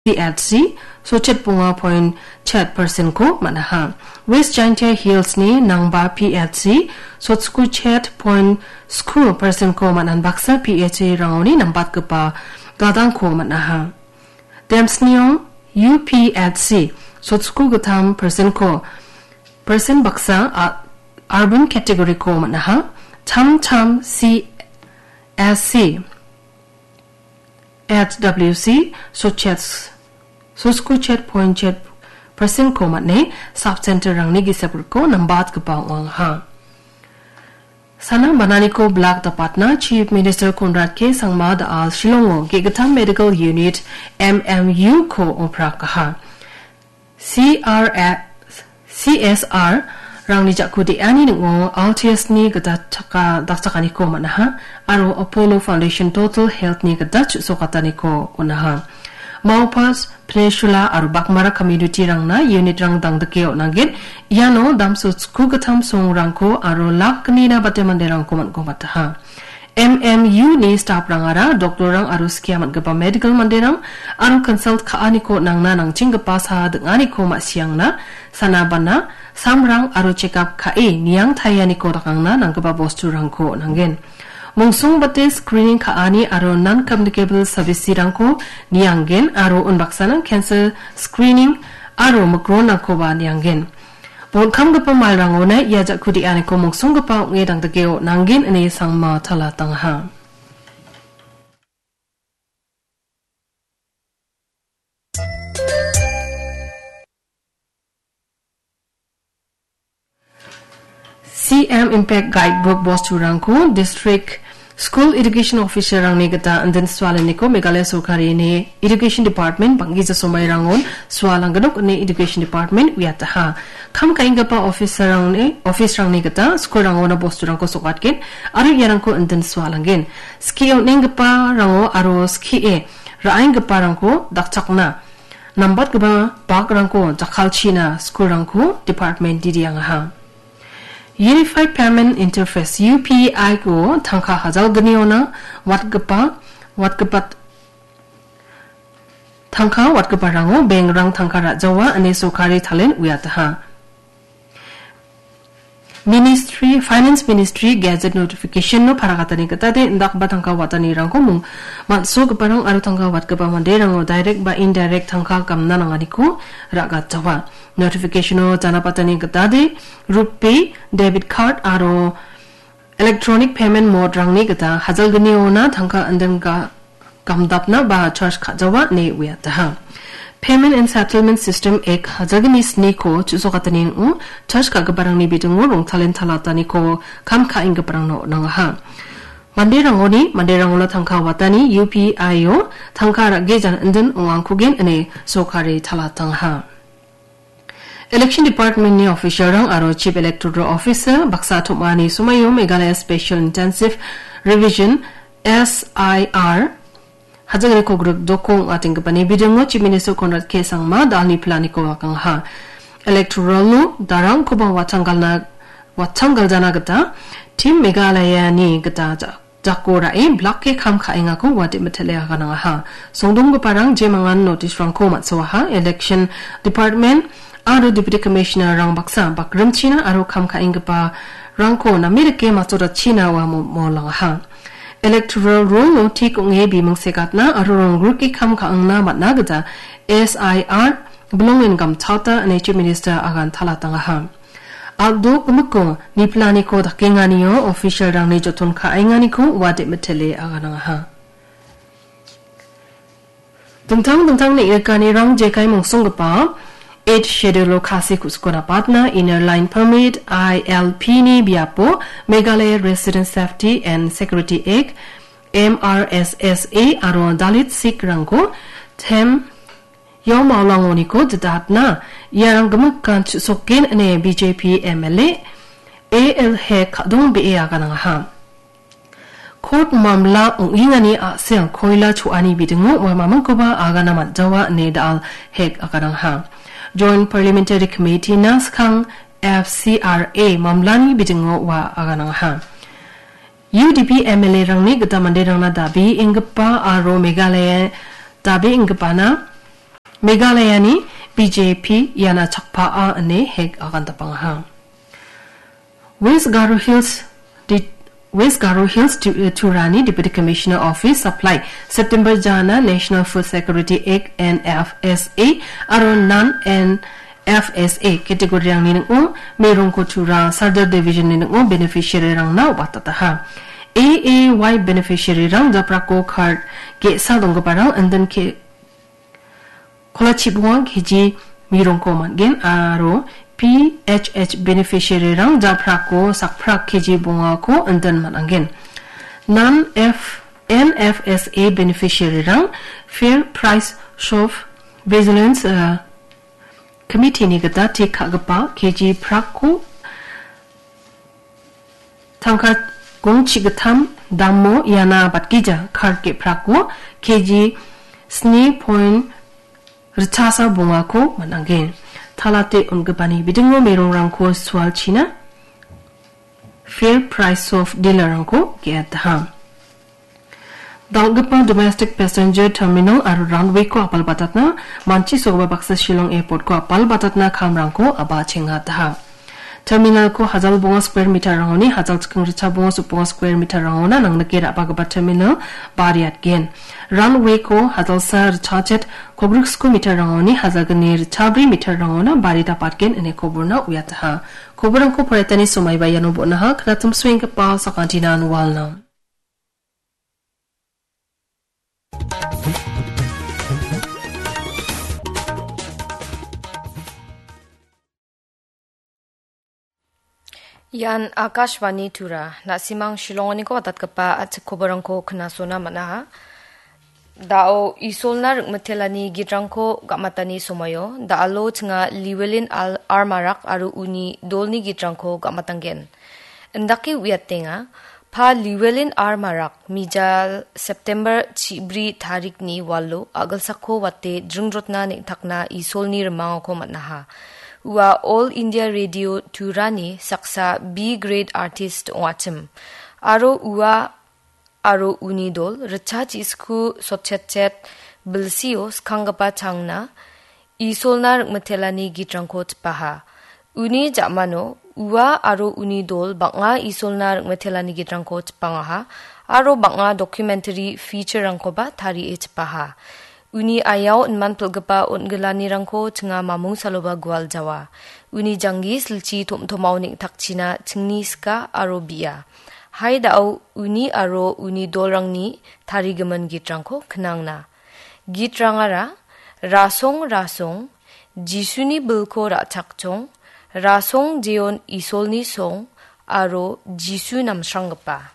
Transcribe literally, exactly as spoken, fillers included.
P H C, sotchet bonga point chet percent-ko man·aha. West Jaintia Hills-ni Nangba P H C, sotsko chet point sku percent-ko man·an baksa P H C-rangoni nambatgipa gadangko man·aha. Demsniong U P H C, sotsko gittam percent-ko, percent baksa, a, urban category-ko man·aha. Tam Tam C S C, H W C, sotchet, sotsko chet point chet percent-ko man·e, sub-center-rangni gisep griko nambatgipa ong·aha. Sana bananiko blak dapatna Chief Minister Conrad K Sangma da·al Shillongo ge·gittam Medical Unit, M M U-ko oprakaha. C R S, C S R-rangni jako de·ani ning·o Altius-ni gita chaka-, dakchakaniko man·aha aro Apollo Foundation Total Health-ni gita chu·sokataniko on·aha. Maupas, Peninsula aro Bakmara community-rangna unit-rang dangdike on·angen. Iano damso sku gittam songrangko aro lak gnina bate manderangko man·gobataha. M M U-ni staff-rangara doktorrang aro skia man·gipa medical manderang aro consult ka·aniko nangna nangchenggipa saha ding·aniko ma·siangna, sana bana, samrang aro checkup ka·e niang tarianiko dakangna nanggipa bosturangko on·angen. Mungsong bate screening ka·ani aro non-communicable service-rangko niangen aro unbaksana cancer screening aro mikronrangkoba niangen. Bon kamgipa malrangona ia jako de·aniko mongsonggipa ong·e dangdikeo nanggen ine Sangma tala tangaha. C M Impact Guidebook bosturangko District School Education Officer-rangni gita indin sualaniko Meghalaya sorkarini Education Department bang·gija somairangon sualanggenok ine Education Department uiataha. Kam ka·enggipa officer-rangni, office-rangni gita school-rangona bosturangko sokatgen aro iarangko indin sualanggen. Skie on·enggiparango aro skie ra·enggiparangko dakchakna nambatgipa bakrangko jakkalchina school-rangko department didiangaha. Unified Payment Interface, U P I-ko tangka hajalgniona watgipa, watgipat-, tangka watgiparango bank-rang tangka ra·jawa ine sorkari talen uiataha. Ministry, Finance Ministry Gazette Notification-o parakatani gitade indakgipa tangka watanirangko mung-, man·sogiparang aro tangka watgipa manderango direct ba indirect tangka gamna nanganiko ra·gatjawa. Notification-o janapatani gitade RuPay, debit card aro electronic payment mode-rangni gita hajalgniona tangka indin ga-, gamdapna ba charge ka·jawa ine uiataha. Payment and Settlement System Act hajalgni sniko chu·sokatani ning·o charge ka·giparangni bidingo rongtalen talataniko kam ka·enggiparangna on·angaha. Manderangoni, manderangona tangka watani U P I-o tangka ra·ge jan indin ong·angkugen ine sorkari talatangaha. Election Department-ni official-rang aro Chief Electoral Officer baksa tom·ani somaio Meghalaya Special Intensive Revision, S I R, hajalgni kogrik dokong ong·atenggipani bidingo Chief Minister Conrad K Sangma da·alni planiko agangaha. Electoral-o darangkoba watanggalna, watanggaljana gita Team Meghalaya-ni gita ja-, jako ra·e blake kam ka·engako ua de·mitele aganangaha. Songdonggiparang jemangan notice-rangko man·soaha, Election Department aro Deputy Commissioner-rang baksa bakrimchina aro kam ka·enggiparangko name dake matchotachina ua mo-, molangaha. Electoral roll-o tik ong·e biming segatna aro rongrike kam ka·angna man·a gita S I R bilongen gamchata ine Chief Minister agan talatangaha. Aldo gimikko niplaniko dakenganio official-rangni joton ka·enganiko ua de·mitele aganangaha. Dingtang dingtang neng·rikanirang jekai mongsonggipa Eighth Schedule-o Khasi ku·siko napatna Inner Line Permit, I L P-ni biapo Meghalaya Resident Safety and Security Act, M R S S A, aro Dalit Sikh-rangko tem Yao Maolangoniko didatna iarang gimikan chu·soken ine B J P M L A A L Hek ka·dong be·e aganangaha. Court mamla ong·engani a·sel koila cho·ani bidingo ua mamingkoba agana man·jawa ine da·al Hek aganangaha. Joint Parliamentary Committee-na skang F C R A mamlani bidingo ua aganangaha. U D P M L A-rangni gita manderangna dabe enggipa aro Meghalaya dabe enggipana Meghalayani B J P iana chakpaa ine Hek agandapangaha. West Garo Hills, di-, West Garo Hills Tu-, Turani Deputy Commissioner Office Supply, September jana National Food Security Act, N F S A, aro non N F S A category-rangni ning·o, Meirongko Tura Sardar Division-ni ning·o beneficiary-rangna watataha. A A Y beneficiary-rang japrako card ge·sa donggiparang indin ke-, kolachibonga K G mirongko man·gen aro P H H beneficiary-rang japrako sakprak K G bongako indin man·angen. Non F-, N F S A beneficiary-rang Fair Price Shop Vigilance, uh, Committee-ni gita tik ka·gipa K G prakko tangka gongchi gittam damo iana batgija card ge·prako K G sni point ritchasa bongako man·angen. Talate on·gipani bidingo merongrangko sualchina Fair Price Shop dealer-rangko ge·ataha. Dal·gipa domestic passenger terminal aro runway-ko apalbatatna, manchisogipa baksa Shillong Airport-ko apalbatatna kamrangko a·bachengataha. Terminal-ko hajal bonga square meter-rangoni hajal chiking ritchasa bonga sukbonga square meter-rangona nangnike ra·bagipa terminal bariatgen. Runway-ko hajalsa ritchachet kogriksku meter-rangoni hajalgni ritchabri meter-rangona bari dapatgen ine koborna uiataha. Koborrangko poraitani somaiba iano bon·aha, knatimsoenggipa sakantinan walna. Ian Akashvani Tura, na·simang Shillonganiko watatgipa a·chik koborrangko knasona man·aha. Da·o Isolna ring·mitelani gitrangko ga·matani somoio, da·alo chinga Llewellyn Al-, R Marak aro uni dolni gitrangko ga·matanggen. Indake uiatenga, Pa Llewellyn R Marak, mijal September chibri tarikni walo a·gilsako wate dringrotna neng·takna Isolni rimangako man·aha. Ua All India Radio Turani saksa B grade artist ong·achim. Aro ua aro uni dol ritcha chisku sotchetchet bilsio skanggipa changna Isolna ring·mitelani gitrangko chipaha. Uni ja·mano ua aro uni dol bang·a Isolna ring·mitelani gitrangko chipangaha aro bang·a documentary feature-rangkoba tarie chipaha. Uni aiao inman pil·gipa on·gilanirangko chinga mamung saloba gual jawa. Uni janggi silchi tom·tomao neng·takchina chingni sika aro bi·a. Hai da·o uni aro uni dolrangni tarigimin gitrangko knangna. Gitrangara, Rasong, rasong, Jisuni bilko ra·chakchong, rasong jeon Isolni song, aro Jisu namsranggipa.